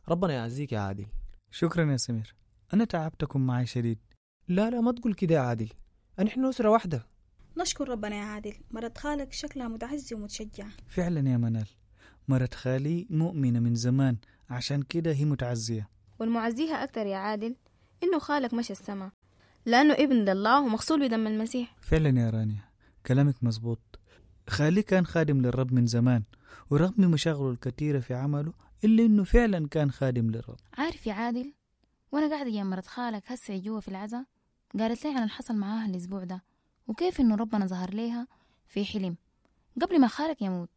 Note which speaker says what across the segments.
Speaker 1: ربنا يعزيك يا عادل.
Speaker 2: شكرا يا سمير، أنا تعبتكم معي شديد.
Speaker 1: لا لا، ما تقول كده يا عادل، نحن أسرة واحدة.
Speaker 3: نشكر ربنا يا عادل، مرت خالك شكلها متعزي ومتشجعة.
Speaker 2: فعلا يا منال، مرت خالي مؤمنة من زمان، عشان كده هي متعزية.
Speaker 4: والمعزيها أكتر يا عادل إنه خالك مشى السما، لأنه ابن لله ومغسول بدم المسيح.
Speaker 2: فعلا يا رانيا، كلامك مزبوط. خالي كان خادم للرب من زمان، ورغم مشاغله الكثيرة في عمله إلا إنه فعلا كان خادم للرب.
Speaker 5: عارف يا عادل، وأنا قاعدة جنب مرت خالك هسه جوا في العزاء، قالت لي عن اللي حصل معاها الأسبوع ده، وكيف إنه ربنا ظهر ليها في حلم قبل ما خالك يموت،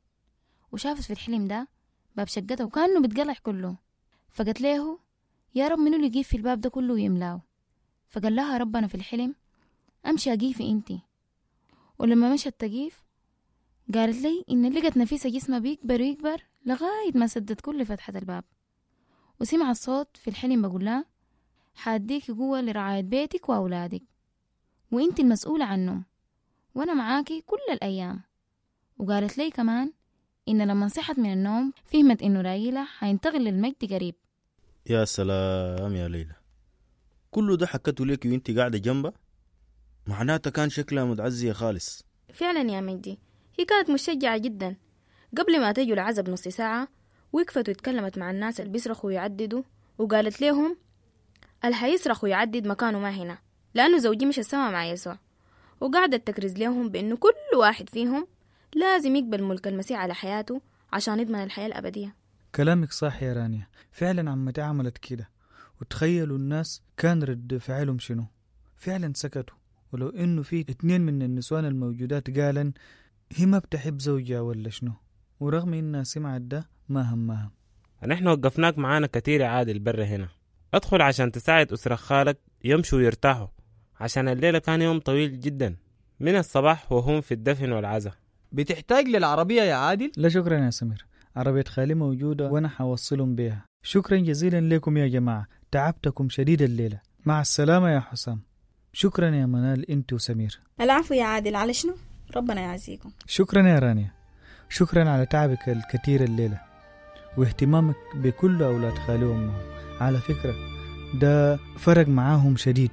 Speaker 5: وشافت في الحلم ده باب شقته وكأنه بتقلع كله. فقالت له يا رب منو اللي يقيف في الباب ده كله ويملاه؟ فقال لها ربنا في الحلم أمشي أقيفي أنتي. ولما مشت تقيف قالت لي إن لقت نفيسة جسمها بيكبر ويكبر لغاية ما سدت كل فتحة الباب. وسمع الصوت في الحلم بقول لها حاديك قوة لرعاية بيتك وأولادك، وإنت المسؤولة عنهم، وأنا معاكي كل الأيام. وقالت لي كمان إن لما صحت من النوم فهمت إنه رايلة حينتقل للمجد قريب.
Speaker 6: يا سلام يا ليلى، كله ده حكته لك وانت قاعدة جنبه؟ معناته كان شكلها متعزية خالص.
Speaker 4: فعلا يا مجدي، هي كانت مشجعة جدا. قبل ما تجوا العزب نص ساعة وقفت واتكلمت مع الناس اللي بيصرخوا ويعددوا، وقالت لهم اللي حيصرخ ويعدد مكانه ما هنا، لأنه زوجي مش السما مع يسوع. وقعدت تكرز لهم بأنه كل واحد فيهم لازم يقبل ملك المسيح على حياته عشان يضمن الحياة الأبدية.
Speaker 2: كلامك صح يا رانيا، فعلا عمتي عملت كده. وتخيلوا الناس كان رد فعلهم شنو، فعلا سكتوا. ولو انه في 2 من النسوان الموجودات قالن هي ما بتحب زوجها ولا شنو، ورغم انها سمعت ده ما همها.
Speaker 7: نحن وقفناك معانا كتير يا عادل برا هنا، ادخل عشان تساعد أسرة خالك يمشوا ويرتاحوا، عشان الليلة كان يوم طويل جدا من الصباح وهم في الدفن والعزاء.
Speaker 1: بتحتاج للعربية يا عادل؟
Speaker 2: لا شكرا يا سمير، عربية خالي موجودة وأنا حوصلهم بيها. شكرا جزيلا لكم يا جماعة، تعبتكم شديد الليلة. مع السلامة يا حسام. شكرا يا منال انت وسمير.
Speaker 3: العفو يا عادل، على شنو؟ ربنا يعزيكم.
Speaker 2: شكرا يا رانيا، شكرا على تعبك الكثير الليلة واهتمامك بكل أولاد خالي وأمهم. على فكرة ده فرق معاهم شديد.